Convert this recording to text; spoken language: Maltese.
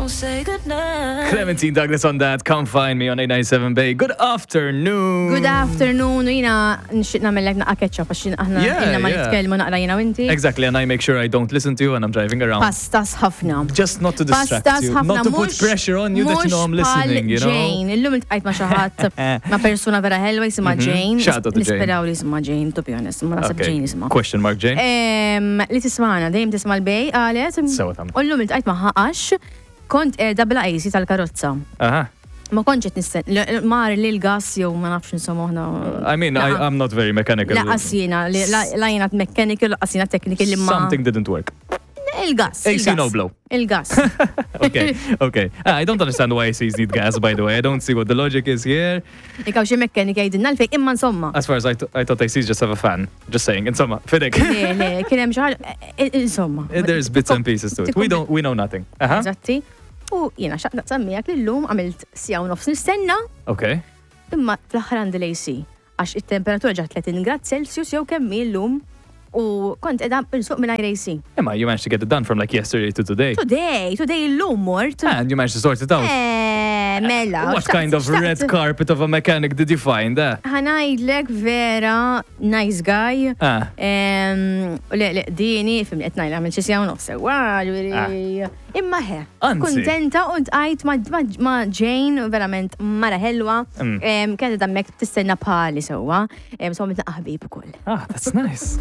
Won't say goodnight. Clementine Douglas on that. Come find me on 897 Bay. Good afternoon. Good afternoon, u jiena nixtieq nagħmellek naqra ketchup għax jien aħna ilna ma nitkellmu naqra jiena u inti. Exactly, and I make sure I don't listen to you when I'm driving around. Pastas ħafna. Just not to distract Pastas you, ħafna. Not to put pressure on you that you know I'm listening, you know. Jane, illum iltqajt ma' xi ħadd ma' persuna vera ħelwa jisimha Jane. Mhm. Shout out to Jane. Nisperaw li jisimha Jane, to be honest, ma naħseb Jane jisimha. Question mark Jane. Li tismana, dejjem tisma' l-Bay, qalet. Sewa tagħmel. U llum iltqajt magħha għax kont qiegħda bla AC tal-karozza. Aha. Ma kontx qed nisten, mar li l-gas jew ma nafx insomma aħna. I mean, I'm not very mechanical. Laqas jiena, la jiena mechanical, laqas jiena technical imma. Something didn't work. Il-gas. AC no blow. Il-gas. Okay. I don't understand why ACs need gas, by the way. I don't see what the logic is here. Ikaw xi mekkanika jgħidilna l-fejn, imma insomma. As far as I thought ACs just have a fan. Just saying, insomma, fidek. Le, le, kien hemm xi ħaġa, eh, eh, insomma. There's bits and pieces to it. We don't, we know nothing. Aha. Eżatti. U jiena xaqt naqsam miegħek li llum għamilt siegħa u nofs nistenna, imma fl-aħħar għandi l-AC għax it-temperatura ġat 30 grad Celsius jew kemm hi llum u kont qiegħda nsuq mingħajr AC. Imma you managed to get it done from like yesterday to today. Today, today illum mort. And you managed to sort it out. Eh, mela. What kind of red carpet of a mechanic did you find? Eh? Ħa ngħidlek vera, nice guy. Ah. Le, le, dini, fimni qed ngħid għamil xi siegħa u nofs sewwa, ġifieri. Imma ħe. Anzi. Kuntenta u ntqajt ma' Jane, verament mara ħelwa. Kienet hemmhekk tistenna bħali sewwa. So għamilna ħbieb ukoll. Ah, that's nice.